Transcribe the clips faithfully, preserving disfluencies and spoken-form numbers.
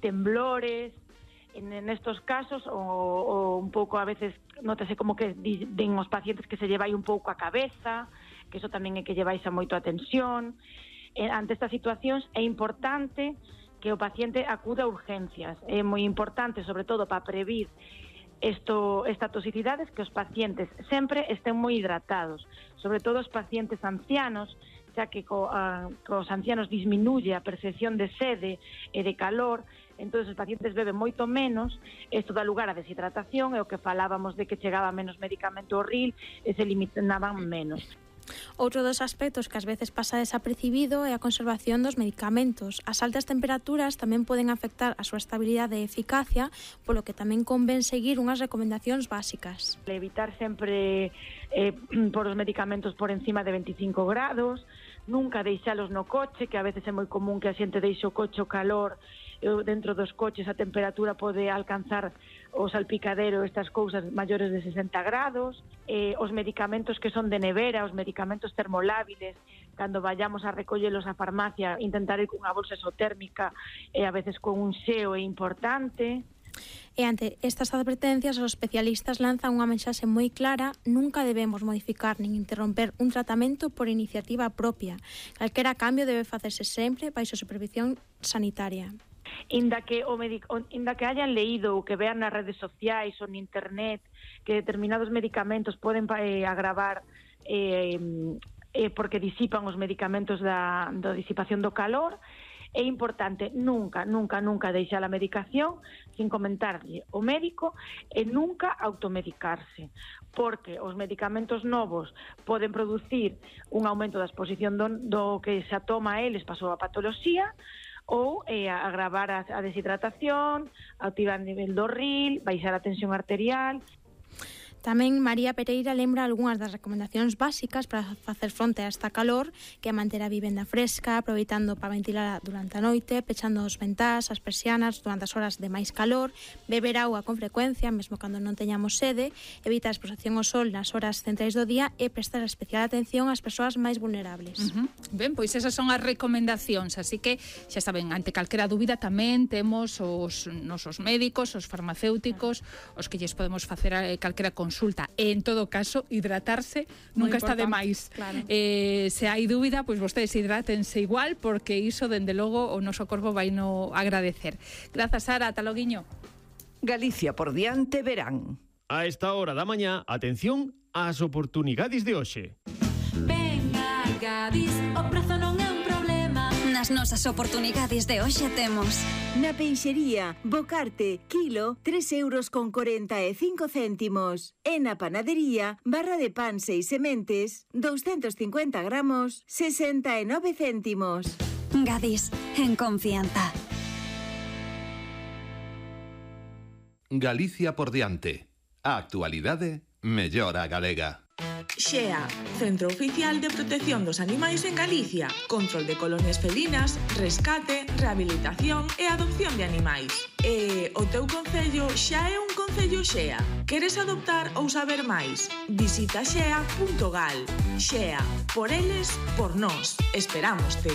temblores. En, en estos casos, o, o un pouco a veces, nótase como que din os pacientes que se llevai un pouco a cabeza, que eso tamén é que llevais a moito a tensión. Eh, ante estas situacións é importante que o paciente acuda a urgencias. É moi importante, sobre todo, para previr Esto, esta toxicidade, que os pacientes sempre estén moi hidratados, sobre todo os pacientes ancianos, xa que co, a, cos ancianos disminuye a percepción de sede e de calor, entón os pacientes beben moito menos, isto dá lugar a deshidratación, e o que falábamos de que chegaba menos medicamento ao ril e se limitaban menos. Outro dos aspectos que ás veces pasa desapercibido é a conservación dos medicamentos. As altas temperaturas tamén poden afectar a súa estabilidade e eficacia, polo que tamén convén seguir unhas recomendacións básicas. Evitar sempre eh, por os medicamentos por encima de veinticinco grados, nunca deixalos no coche, que a veces é moi común que a xente deixe o coche o calor, dentro dos coches a temperatura pode alcanzar o salpicadero, estas cousas maiores de sesenta grados, eh, os medicamentos que son de nevera, os medicamentos termolábiles, cando vayamos a recollelos á farmacia, intentar ir cunha bolsa exotérmica e a veces con un xeo é importante. E ante estas advertencias, os especialistas lanzan unha mensaxe moi clara: nunca debemos modificar nin interromper un tratamento por iniciativa propia. Calquera cambio debe facerse sempre baixo supervisión sanitaria. Inda que, o medic, inda que hayan leído ou que vean nas redes sociais ou en internet que determinados medicamentos poden eh, agravar eh, eh, porque disipan os medicamentos da, da disipación do calor, é importante nunca, nunca, nunca deixar a medicación sin comentarlle o médico e nunca automedicarse, porque os medicamentos novos poden producir un aumento da exposición do, do que se toma a eles pasou a patoloxía, ou eh, agravar a, a deshidratación, activar o nivel do ril, baixar a tensión arterial. Tamén María Pereira lembra algunhas das recomendacións básicas para facer fronte a esta calor, que é manter a vivenda fresca, aproveitando para ventilar durante a noite, pechando os ventás, as persianas durante as horas de máis calor, beber auga con frecuencia, mesmo cando non teñamos sede, evitar a exposición ao sol nas horas centrais do día e prestar especial atención ás persoas máis vulnerables. Uh-huh. Ben, pois esas son as recomendacións, así que xa saben, ante calquera dúbida tamén temos os nosos médicos, os farmacéuticos, os que lles podemos facer calquera consulta. consulta. E, en todo caso, hidratarse nunca está de máis. Claro. Eh, se hai dúbida, pois vostedes hidrátense igual, porque iso, dende logo, o noso corpo vai no agradecer. Grazas, Sara. Ata loguiño. Galicia por diante verán. A esta hora da mañá, atención ás oportunidades de hoxe. Venga, Gadis, o prezo non é un problema. Nas nosas oportunidades de hoxe temos: na peixería, bocarte, kilo, tres euros con corenta e cinco céntimos. E na panadería, barra de pan seis sementes, doscientos cincuenta gramos, sesenta e nove céntimos. Gadis, en confianza. Galicia por diante. A actualidade mellora galega. Xea, Centro Oficial de Protección dos Animais en Galicia. Control de colonias felinas, rescate, rehabilitación e adopción de animais. E o teu concello xa é un concello Xea. Queres adoptar ou saber máis? Visita xea punto gal. Xea, por eles, por nós. Esperámoste.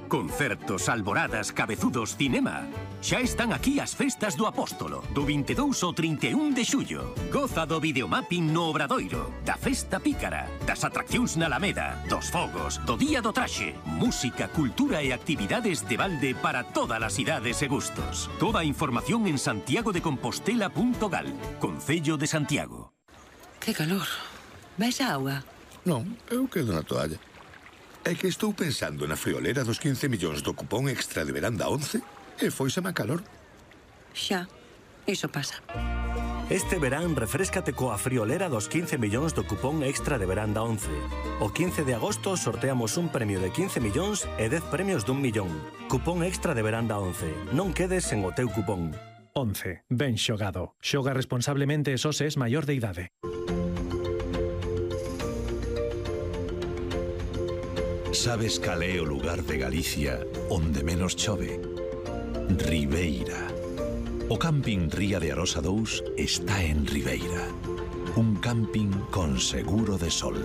Concertos, alboradas, cabezudos, cinema. Xa están aquí as festas do Apóstolo, do vinte e dous ao trinta e un de xullo. Goza do videomapping no Obradoiro, da festa pícara, das atraccións na Alameda, dos fogos, do Día do Traxe, música, cultura e actividades de balde para todas as idades e gustos. Toda a información en santiago de compostela punto gal, Concello de Santiago. Que calor. Vais a auga? Non, eu quedo na toalla. É que estou pensando na friolera dos quince millóns do cupón extra de verán da once e foiseme a calor. Xa, iso pasa. Este verán refréscate coa friolera dos quince millóns do cupón extra de verán da once. O quince de agosto sorteamos un premio de quince millóns e dez premios dun millón. Cupón extra de verán da once. Non quedes sen o teu cupón. once. Ben xogado. Xoga responsablemente e só se es maior de idade. Sabes cal é o lugar de Galicia onde menos chove? Ribeira. O camping Ría de Arosa dous está en Ribeira. Un camping con seguro de sol.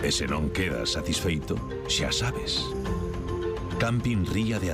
E se non quedas satisfeito, xa sabes. Camping Ría de